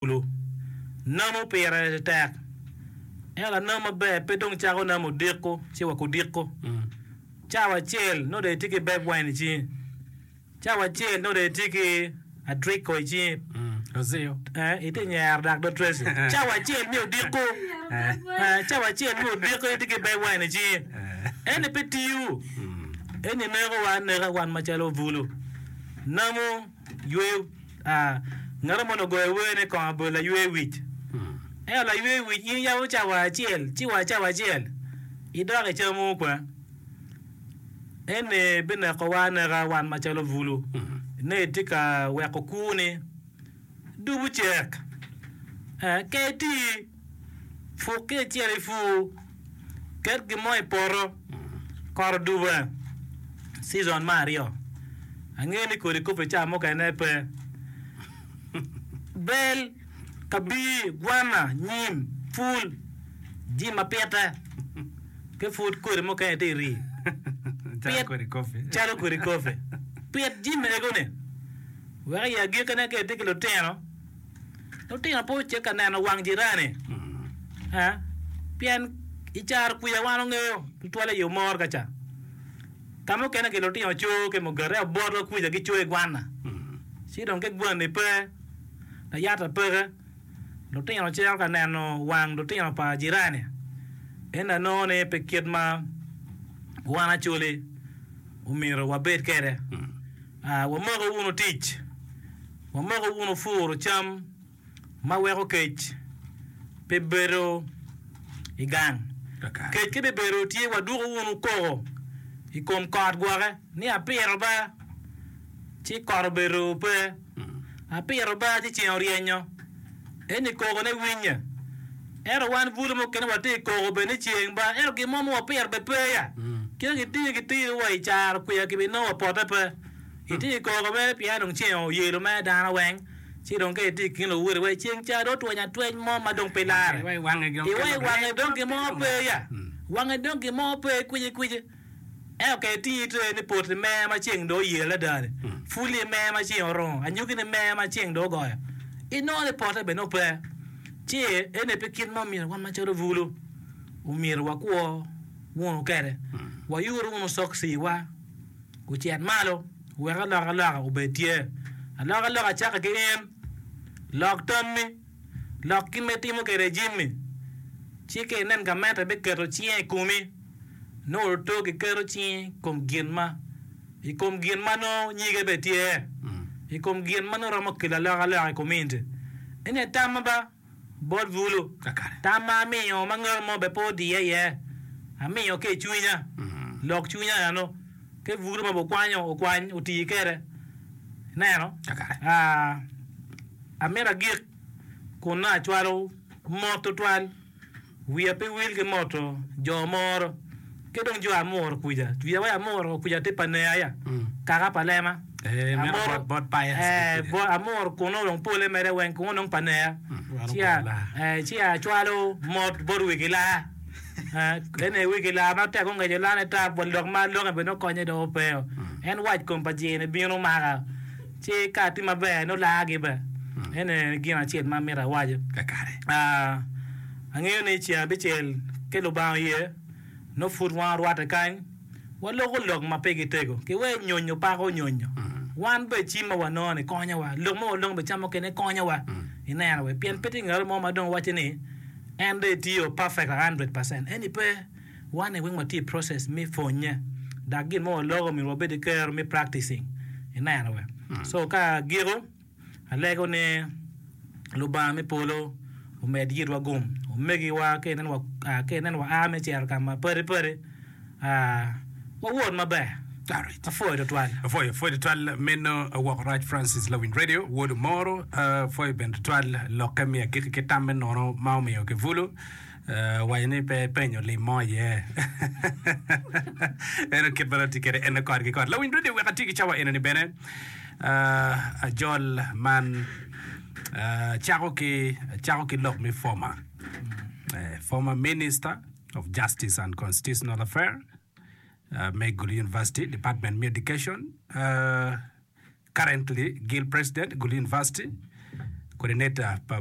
Kulu. Namo pire tek. Ento lanam maber pe dong cako namo odiko ci wa kudiko. Cawa acel nongo dong itye ki beb wine i cingi. Cawa acel nongo dong itye ki adriko i cingi. Eh, itye nyero dok dong Tracy. Cawa acel me odiko. Eh, cawa acel me odiko itye ki beb wine i cingi. Eni pe tiyo. Eni nekowa aneka wan macalo bulu. Namo. Yweyo, Ngat mo onongo ogoyo wer ni kong obedo laywe wic. Ento laywe wic in iyabo cawa acel ci wa cawa acel idok icamo kwe. Eni binekowa aneka wan macalo bulu ni itye ka weko kwoni dubu cek. Ka iti Puk ki icit ipur, ket gin mo i poto, kot odube, season me aryo. Angeyo ni kodi kopi ca mukene pe. Bel, kabir, gwana, nyim, pul, jami ma pite ki pud kodi mukene tye i rii. Calo kodi kopi. Calo kodi kopi. Pit jami ego-ni wek i agikkine ka itye ki lutino, Lutino pe ocit ka neno wang jirani pien i caro kwica wan ongeyo tutwal i omor ka ca. Ka mukene ki lutino co ki mugati ento botwa kwica gico i gwana ci dong ka gwanni pe layata peke lutino cito ka neno wang lutino pa jirani ento anongo ni pe kit ma wan Acholi omyero wabed kwede. Wamoko wunu tic. Wamoko wunu puro cam ma weko kec pe bedo i gang. Kec ka bibedo tye wadwoko wunu koko i kom kot gwoke ni apito ba ci kot obedo pe, apito ba ci ceng oryenyo. Eni kokone winye. Ento wan bulu mukene watye i koko bene ni ceng ba ento gin mo ma wapito bene pe ya. Kit ma gitingi gitiri wa i caro kwiya kibinongo wa pote pe. Itye i koko mere pien dong ceng oyelo mere dano weng, ci dong ka itye i kin luwoti wai ceng ca dong otweny atweny mo ma dong pe larre. Iwai wange dong Iwai wange dong gin mo pe ya. Wange dong gin mo pe kwicikwici. Ento ka itingi itye ni poti mer ma ceng dong oyelo adada-ni, puli mer ma ceng orungo, anyogini mer ma ceng dong ogoyo, inongo ni pote bene nongo pe. Ci eni pe kit ma omyero wan macalo bulu omyero wakwo wunu kwede. Wayuru wunu cokciwa. Gucit malo wek alokaloka obed tye. Alokaloka cakke ki in. Lok tammi. Lok kit ma itimo kwede jami. Ci ka inen gamente biketo cinge i komi, nongo oto giketo cinge i kom gin ma i kom gin ma nongo nyige bene tye, i kom gin ma nongo romo kelo alokaloka i kominiti. Eni aye tamma ba. Bot bulu, tam ma amiyo ma ngat mo bene pe odiya iye, amiyo ki i cwinya, lok cwinya eno, ki bulu ma bukwanyo okwany oti kwede. Ineno? Amito agik kun nongo acwalo mot tutwal. Wiya pe wil ki moto jo moro ki dong jo amuro kuca. Wiya wai amuro kuca tye pa neya ya, kaka pa lema. Amuro kunu dong pole mere weng kunu dong pa neya. Ci acwalo mot bot wegi laa. Ene wegi laa ma tek ongeco lane tap wa lok ma aloke bene okonye dong ope. En wac kom pa jini bino maka. Ci ka atye maber nongo laagi bene. Eno aye gin acel ma amito awaco. Angeyo ni ceng abicel ki Lubanga oye, nongo pud wan warwatte kany, waloko lok ma pigi tego. Ki wee nyonyo pako nyonyo. Wan bene cim ma wanongo-ni konyowa, lok ma walongo bene ca mukene konyowa. Ineno we? Pien pe tye ngat mo ma dong waco ni en dong etiyo perfect a hundred percent. Eni pe. Wan weng watye i process me pwonye dok gin ma waloko myero wabed ki kero me practicing ineno we. So ka agiko alego ni Lubanga me polo omed yitwa gum omegiwa ka inen ka inen wa a me cito ka ma padi padi wawot maber. Apwoyo tutwal. Apwoyo, apwoyo tutwal meno woko rac Francis Lawiny Radio wod Omoro. Apwoyo bene tutwal lokke me agikki ki tam me nono ma omiyo ki bulu. Owaco ni pe epenyo lim mo iye. Eno kit ma dong tye kwede ene kore ki kore. Lawiny radio wek ati ki cawa enoni bene ajol man cako ki cako ki lok me former former minister of justice and constitutional affair me Gulu University department me education Currently Guild President, Gulu University. Coordinator pa.